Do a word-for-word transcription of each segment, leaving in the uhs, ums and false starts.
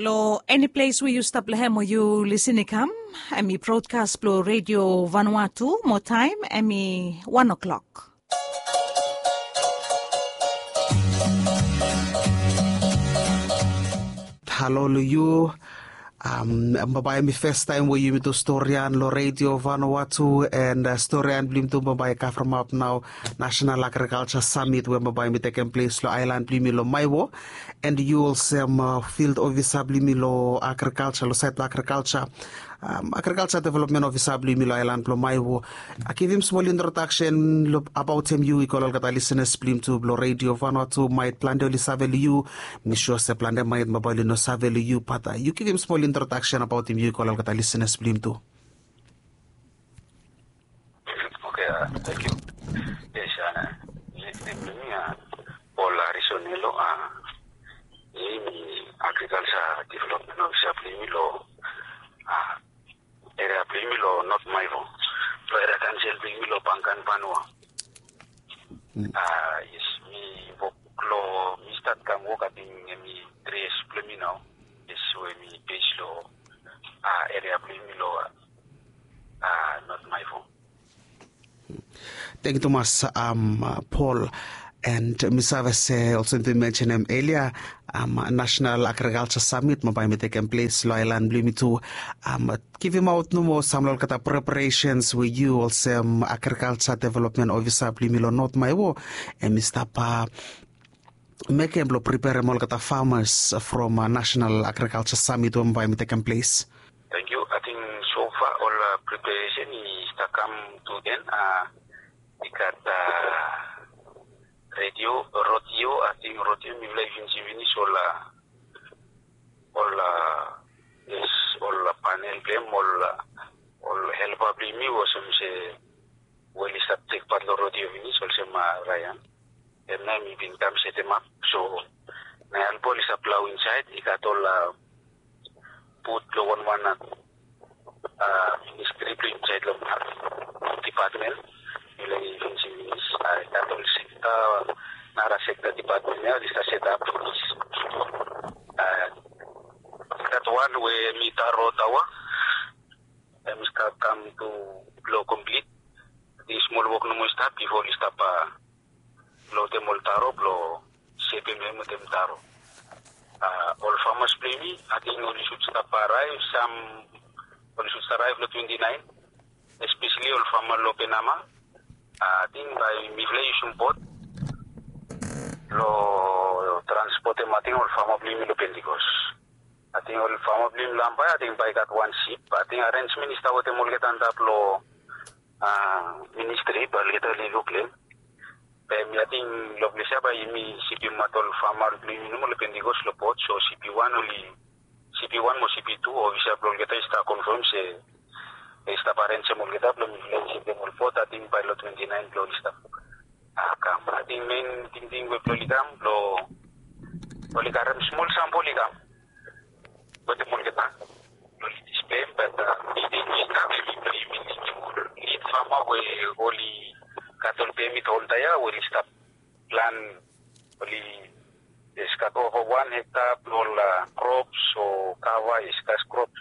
Long eni ples we yu stap long hem o yu lisin i kam, em i brodkas blong Redio Vanuatu, mo taem em i wan o'klok. Halo long yu. Am, bambae em i fes taem we yumi tu storian long Redio Vanuatu, and storian blong yumi tu bambae i kavremap nao National Agriculture Summit we bambae em i tekem ples long aelan blong yumi long Maewo. And yu olsem field ofisa blong yumi long agrikalsa, long saed blong agrikalsa, agrikalsa developmen ofisa blong yumi long aelan blong Maewo. Givim smol introdaksen abaotem yu i go long olgeta lisenas blong yumi tu blong Redio Vanuatu. Maet plante oli save long yu. Mi sua se plante maet bambae oli no save long yu, bat yu givim smol introdaksen abaotem yu i go long olgeta lisenas blong yumi tu. Oke, a, tangkiu. Yes, a, nem blong mi, a, Paul Harrison Elo, a, mi agrikalsa developmen ofisa blong yumi long, a, eria blong yumi long Not Maewo, long eria kaonsel blong yumi long Bankan Vanua. A, yes, mi wok long, mi stat kam wok ating em i tri yias blong mi nao. Yes, we mi bes long, a, eria blong yumi long, a, Not Maewo. Tangkiu tumas, am, Paul. And mi save se olsem yumi mensenem elia, am, National Agriculture Summit bambae em i tekem ples long aelan blong yumi tu. Am, givimaot nomo sam long olgeta preparesens we yu olsem agrikalsa developmen ofisa blong yumi long Not Maewo em i stap, a, mekem blong preperem olgeta famas from, a, National Agrikalsa Samit we bambae em i tekem ples. Tangkiu. Ating sofa ol, a, preparesen i stap kam tu en, a, i gat, a, redio, rodio, ating rodio mifala i finis finis ol, a, ol, a, yes, ol panel blong hem, ol, a, ol helpa blong yumi olsem se we oli stap tekpat long rodio finis olsem, a, Ryan. Em nao mi bin kam setemap. So nao helpa oli stap plau insaed, i gat ol, a, bot blong wanwan, a, ministri blong insaed long dipatmen. Mifala i finis finis, a, i gat ol sekta, nara sekta dipatmen ia oli stap setap finis. A, i gat wan we mi taro taoa. Em i stap kam tu blong komplit. Ating smol wok nomo i stap bifo oli stap, a, lotem ol taro blong sepem hem wetem taro. A, ol famas blong yumi ating oli sud stap araev, sam oli sud stap araev long twenti naen, espeseli ol fama long Penama. A, ating bae mifala i yusum bot blong transpotem ating ol fama blong yumi long Pentikos. Ating ol fama blong yumi long Ambae ating bae i gat wan sip. Ating arensmen i stap wetem olgeta antap long, a, ministri bae olgeta oli luk long hem. Be mi ating long ples ia bae yumi sipim ol fama blong yumi nomo long Pentikos long bot. So sipi wan oli, sipi wan mo sipi tu, ofisa blong olgeta i stap konfam se i stap arensem olgeta blong mifala i sipim ol bot. Ating bae long twenti naen blong oli stap, a, kam. Ating mein tingting we blong oli kam blong oli karem smol sampol i kam wetem olgeta blong oli displem, bat, a, mi ting i kam, mi blong yumi, mi ting ol lid fama we oli gat ol pemit oltaem ia we oli stap plan, oli, yes, gat ova wan hekta blong ol, a, krops o kava, yes, kas krops.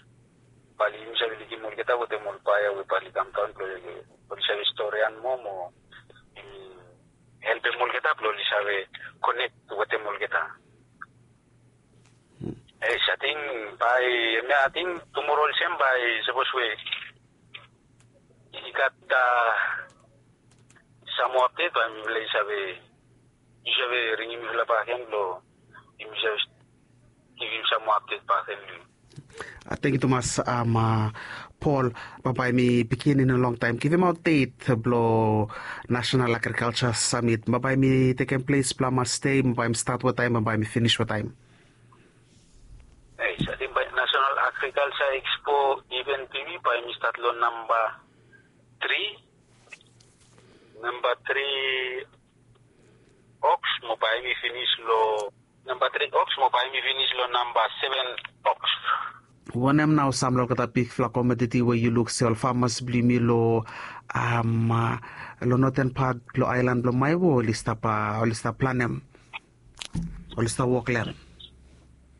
Bae yumi save lidim olgeta wetem ol paea we bae oli kamdaon blong oli save storian moa mo, mm, helpem olgeta blong oli save konek wetem olgeta. Yes, ating bae, em ia ating tumora olsem bae sapos we i gat, a, sam moa apdet bae mifala i save, yu save ringim mifala bakegen blong yumi save givim sam moa apdet bakegen long yu. A, tangkiu tumas, am, a, Paul, bambae em i bigin i no longtaem. Givimaot det blong National Agriculture Summit. Bambae em i tekem ples blong hamas dei, bambae em i stat wataem, bambae em i finis wataem. Yes, ating bae National Agriculture Expo event blong yumi bae em i stat long namba tri, namba tri oks mo bae em i finis long namba tri oks mo bae em i finis long namba seven oks. Wanem nao sam long olgeta bigfala komoditi we yu luk se ol famas blong yumi long, am, a, long noten pat blong aelan blong Maewo oli stap, a, oli stap planem, oli stap wok long hem?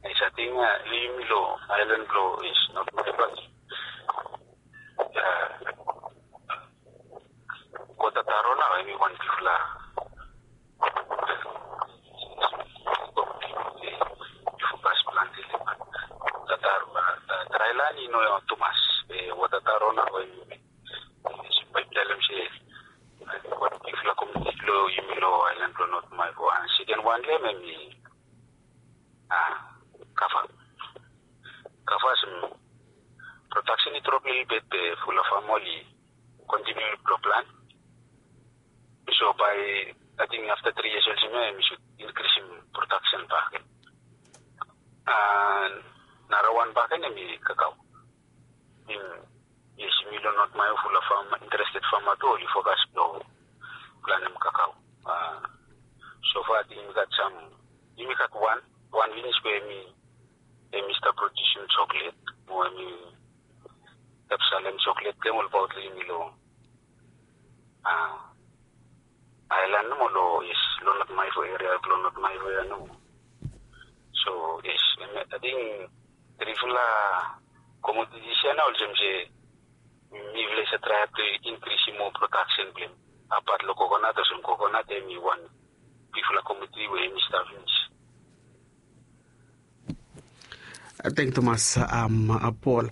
Yes, ating Inga, yumi lo aelan blo North Maeva. Wota Taro nao hemi wan bigfala fokas plante. Wota Taro, a, draelan i no tumas. Be Wota Taro nao hemi, bae mi talem se, a, wan bigfala komuniti blo yumi lo aelan blo North Maeva. Seken wan lo hem hemi, a, kafa. Kafa olsem prodaksen i drop lelebet, be fulap fama oli kontiniu blo plant. So bae, ating afta tri yias olsem ia, hemi sud inkrisim prodaksen bakegen. A, narawan bakegen hemi kakao. Yes, yumi lo North Maeva, fulap fama, interested fama tu oli fokas blo plantem kakao. A, so fa ating yumi gat sam, yumi gat wan, wan finis we hemi, hemi stap produsim choklet, mo hemi stap salem choklet blong hem olbaot lo yumi lo, a, aelan nomo lo, yes, lo North Maeva eria, lo North Maeva ia nomo. So yes, hemi, ating trifala komoditis ia nao olsem se mifala i save traem blo inkrisim moa prodaksen blong hem. Apat lo kokonat, olsem kokonat hemi wan bigfala komoditi we hemi stap finis. Tangkiu tumas, am, a, Paul.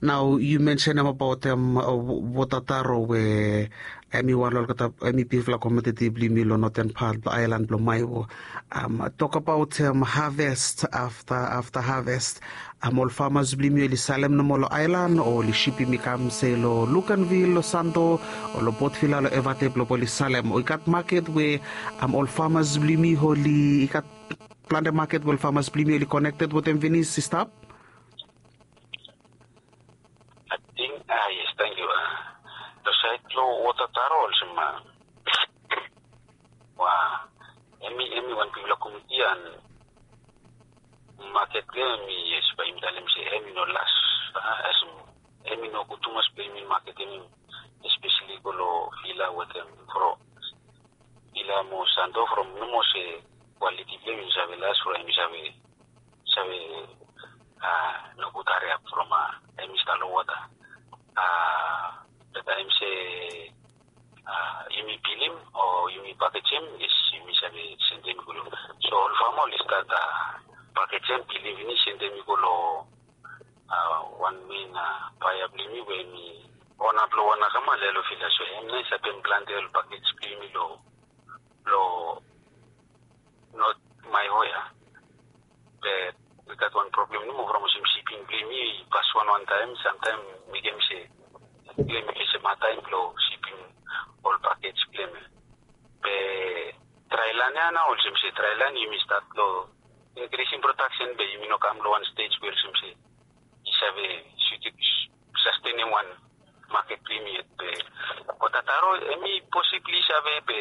Nao yu mensenem abaot, am, a, Wota Taro we hemi wan lo olgeta, hemi bigfala komoditi blo yumi lo noten pat blo aelan blo Maeva. Am, tokbaot, am, haves, afta, afta haves, am, ol famas blo yumi oli salem nomo lo aelan o oli sipim i kam se lo Luganville, lo Santo, o lo Port Vila, lo Evatep, blo oli salem? O i gat maket we, am, ol famas blo yumi oli, i gat plante maket we ol famas blo yumi oli konekted wetem finis i stap? Ating, a, yes, tangkiu. A, lo saed blo Wota Taro olsem, a, wa, hemi, hemi wan bigfala komoditi, an maket blo hem hemi, yes, bae yumi talem se hemi no las, a, olsem hemi no gud tumas blo yumi maketem hem, espeseli go lo Vila wetem, from Vila mo Santo, from nomo se kwaliti blo hem i save las, from hem i save, save, a, nogud hariap from, a, hemi stap lo wota. A, beta hem se, a, yumi pilim o yumi pakejem, yes, yumi save sendem i go lo. So ol fama oli stat, a, pakejem, pilim finis, sendem i go lo, a, wan men, a, baea blo yumi we hemi ona blo wan akama lo yalo Vila. So hem nao i stap plante ol pakej blo yumi lo, lo North Maeva ia. Be i gat wan problem nomo from olsem sipim blo yumi i pas wanwan taem, samtaem mekem se, mekem se hemi olsem hataem blo sipim ol pakej blo hem. Be draelan ia nao olsem se draelan yumi stat lo inkrisim prodaksen be yumi no kam lo wan stej we olsem se i save sutim, sastenem wan maket blo yumi yet. Be Wota Taro hemi posibli save be,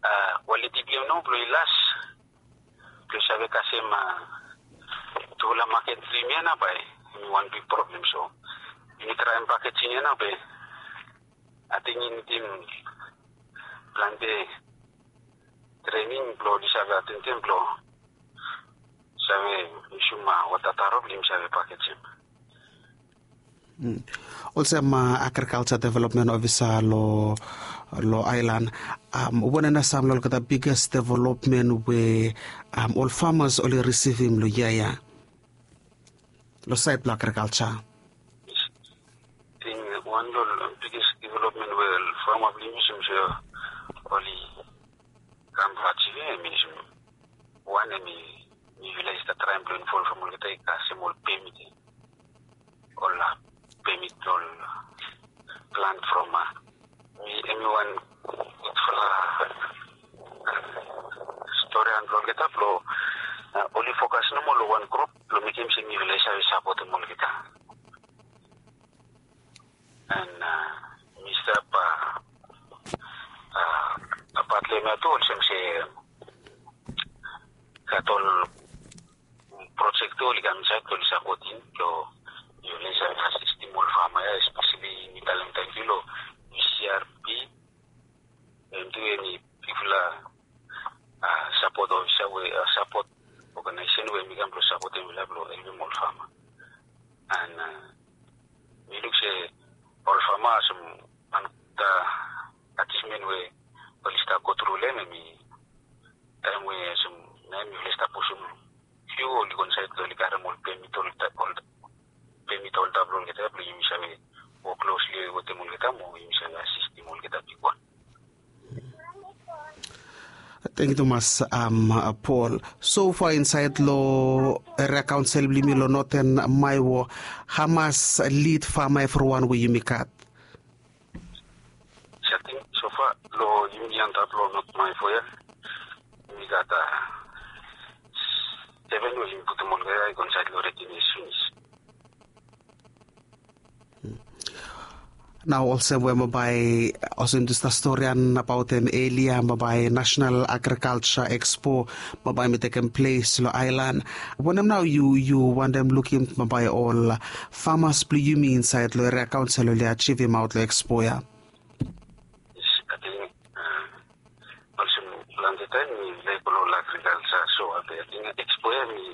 a, kwaliti blo hem nao blo i las, blo i save kasem, a, tufala maket blo yumi ia nao bae hemi wan big problem. So yumi traem pakejing ia nao be ating i nidim plante trening blo oli save atendem blo save yusum, a, Wota Taro blo yumi save pakejem. Olsem, a, agrikalja developmen ofisa lo, lo aelan, am, wanem nao sam lo olgeta biges developmen we, am, ol famas oli risivim lo yia ia lo saed blo agrikalja? Ating wan lo biges developmen we ol fama blo yumi olsem se oli kam blo ajivim, hemi olsem wan, hemi, mifala i stap traem blo involvem olgeta i kasem ol pemit ia. Ol, a, pemit blo ol, a, plant from, a, hemi, hemi wan gudfala storian blo olgeta blo, a, oli fokas nomo lo wan grup blo mekem se mifala i save sapotem olgeta. An, a, mi stap, a, a, apat lo hemia tu olsem se gat ol projek tu oli kam insaed blo oli sapotem, blo oli save asistem ol fama ia, espeseli mi talem tangkiu lo C R P, hem tu hemi bigfala, a, sapot ofisa we, a, sapot oganaesesen we hemi kam blo sapotem blong helpim ol fama. And mi luk se ol fama olsem wan achievement we oli stap go tru long em, em i taem we olsem na em yufala i stap pusim fiu oli go insaed blong oli karem ol pemit olgeta, ol pemit olgeta blong olgeta blong yumi save wok klosli wetem olgeta mo yumi save asistim olgeta bigwan. Tangkiu tumas, Paul. So far insaed long eria kaonsel blong yumi long Noten Maewo, hamas lid fama evriwan we yumi gat? Sating so far long yumi antap long Not Maewo ya, yumi gat seven we yumi putum olgeta i go insaed long readiness finis. Nao olsem we bambae olsem yumi stap storian abaot hem elia, bambae National Agriculture Expo bambae mi tekem ples long aelan. Wanem nao yu yu wantem lukim bambae ol famas blong yumi insaed long eria kaonsel oli achivimaot long ekspo ya? Olsem plante taem mi laik go long agrikalsa, so ating ekspo ya mi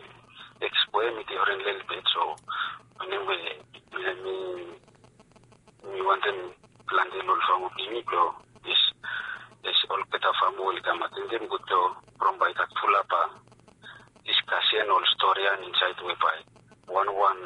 ekspo ya mi difren lelebet. So wanem we mi mi wantem plante long ol fama blong yumi blong es olgeta fama we oli kam ating dem gud blong from bae i gat fulap diskasen ol stori ya insaed we bae wanwan